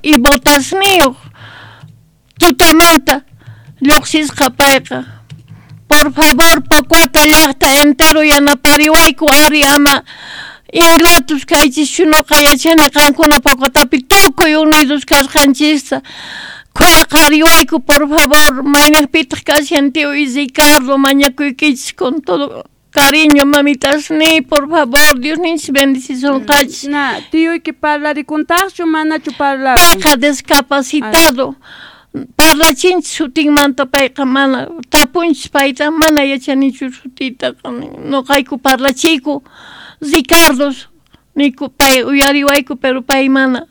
y botasniyuq tutamanta lluqsisqa payqa. Por favor, Pocoata llaqta entero yanapariwayku ari ama ingratos kaychischu, nuqa yachani qankuna Pocoatapi tukuy unidos kasqanchista. Khuyaqariwayku, por favor, mayniqpitaq kashan tío y Ricardo, mañakuykichis con todo cariño, mamitasniy, por favor, Dios ninchis bendicisunqachis. Na, tiyuyki parlarikuntaqchu manachu parlakun? Payqa discapacitado. Parlachinchis sutinmanta payqa mana, tapunchis payta, mana yachanichu sutitaqa, nuqayku parlachiyku, Ricardos niku pay uyariwayku, pero pay mana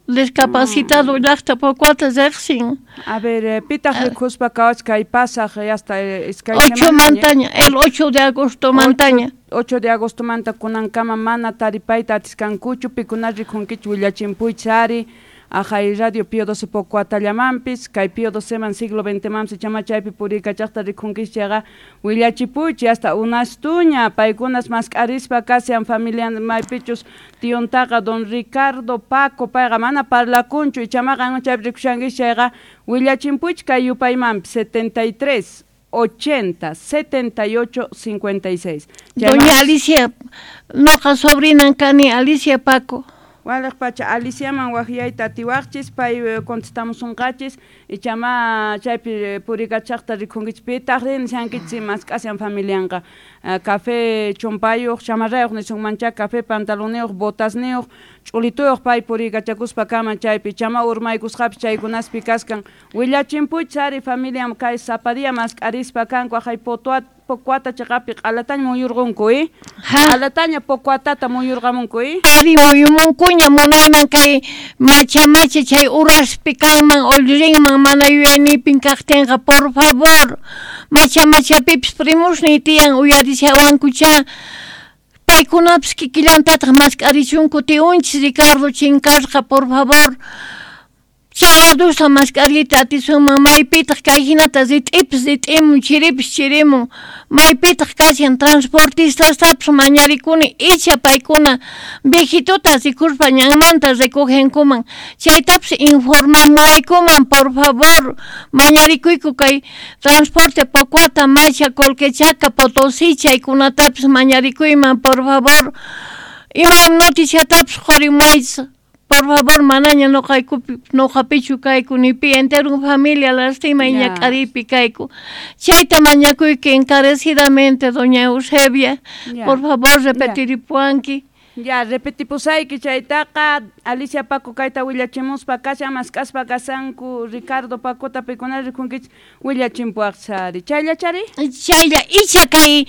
discapacitado llaqta Pocoata riqsin. A ver, pitaq rikuspa kawach kay pasaq hasta iskay 8 mantaña, el 8 de agosto mantaña. 8 de agosto manta kunankama mana taripayta atiskankuchu, pikuna rikunkichu willachimpuychis ari. Ajay Radio Pío XII Pocoatallamanpis, kay Pío XII man siglo XX manpis ichama chaypi puriykachaqta rikunkichis chayqa willachipuychis hasta unastuña paykunas mask'arispa kashan familia maypichus tiyuntaqa don Ricardo Paco payqa mana parlakunchu ichama qan chaypi rikushankichis chayqa willachimpuychis kay yupaymanpis 73 80 78 56. Doña Alicia, noqa sobrinan kani Alicia Paco. Waliq pacha Aliciaman waqyayta atiwaqchis pay contestamusunqachis ichama chaypi purikachaqta rikunkichis pitaq rin nishankichis mask'ashan familianqa café chumpayuq chamarrayuq nisunmancha café pantaloniyuq botasniyuq ch'ulituyuq pay purikachakuspa kama chaypi ichama urmaykusqapis chaykunaspi kaskan willachimpuychis ari familiam kay sapa día mask'arispa kanku aqhay Pocoata chiqapi q'alataña muyurqunku q'alataña Pocoatata muyurqamunku Ari muyumunkuña munayman kay macha macha chay uraspi kanman ollrinman mana yuyaynipin kaqtinqa, por favor, macha machapipis primusniy tiyan uyarishawankucha paykunapis kikillantataq mask'arichunku tiyunchis Ricardo chinkasqa, por favor. Chayladusta mask'ariyta atisunman maypitaq kay hinata rit'ipis rit'imun chiripis chirimun maypitaq kashan transportistastapis mañarikuni icha paykuna viejituta rikuspa ñanmanta recogenkuman chaytapis informamuwaykuman, por favor, mañarikuyku kay transporte Pocoata, Macha, Colquechaca, Potosí chaykunatapis mañarikuyman, por favor, ima noticiatapis qurimuwaychis. Por favor, manaña noqaykupi noqapichu kayku nipi entero familia lastima y ñak'aripi kayku. Chayta mañakuyki encarecidamente, doña Eusebia. Por favor, repetiripuanki. Ya, repetipusayki chaytaqa Alicia Paco kayta willachimuspa kashan mask'aspa kasanku Ricardo Pacota pikuna rikunkichis willachimpuaqchari. Chayllachari? Chaylla icha kay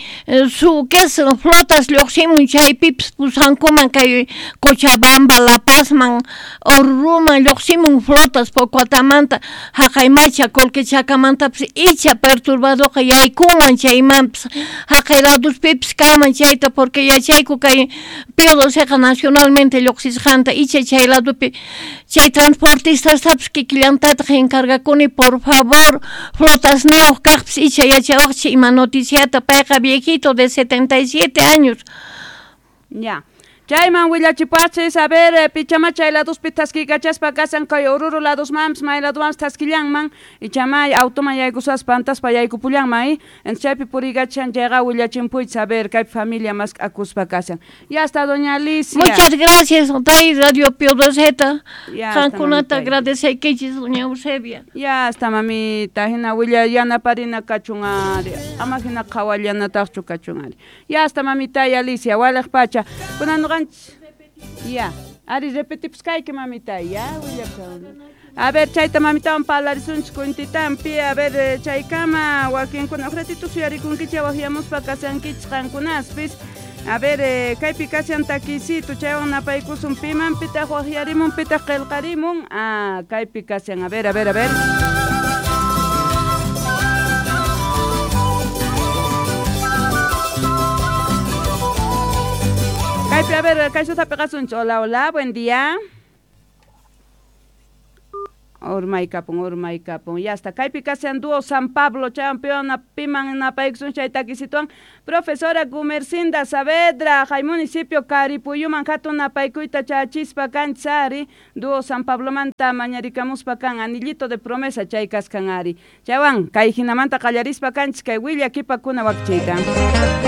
su que es flotas lluqsimun chaypipis pusankuman kay Cochabamba, La Pazman, Oruruman lluqsimun flotas Pocoatamanta haqay Macha Colquechacamantapas icha perturbadoqa yaykunman chaymanpis haqay laduspipis kanman chayta porque yachayku kay Pío XII nacionalmente lluqsisqanta icha chay ladupi chay transportistastapis kikillantataq encargakuni, por favor, flotasniyuq kaqpis icha yachawaqchis ima noticiata payqa viejito de 77 años. Ya. Chayman willachipachis, a ver, pichama chay laduspi thaskiykachaspa kasan kay Oruro ladusmanpis may ladumanpis thaskillanman ichamay automan yaykusaspa antaspa yaykupullanman entonces chaypi puriykachan chayqa willachimpuychis, a ver, kaypi familia mask'akuspa kashan. Ya está, doña Alicia. Muchas gracias, tay Radio Pío XII. Qankunata agradeceykichis, doña Eusebia. Ya está, mamita, hina willa yanaparina kachun ari, ama hina qhawallanataqchu kachun ari. Ya está, mamita y Alicia, waliq pacha. Kunan ya, ari repetipuskayki mamita, ya, willapsa. A ver, chayta mamitawan parlarisunchis kuntitampi, a ver, chaykama wakinkuna huk ratito suyarikunkichis waqyamuspa kasankichis qankunaspis. A ver, kaypi kashan takisito, chaywan napaykusun piman pitaq waqyarimun pitaq qillqarimun. Ah, kaypi kashan, a ver, a ver, a ver. Kaypi, a ver, kaysuta piqasunchis. Hola, hola, buen día. Urmaykapun, urmaykapun. Ya está. Kaypi kashan dúo San Pablo, chaywan piwan piman napaykusun chay takisituan. Profesora Gumercinda Saavedra, hay municipio Caripuyuman hatun napaykuyta chachispa kanchis ari, dúo San Pablomanta mañarikamuspa kan anillito de promesa chay kaskan ari. Chaywan kay hinamanta qallarispa kanchis kay willakipakuna wakichiyta.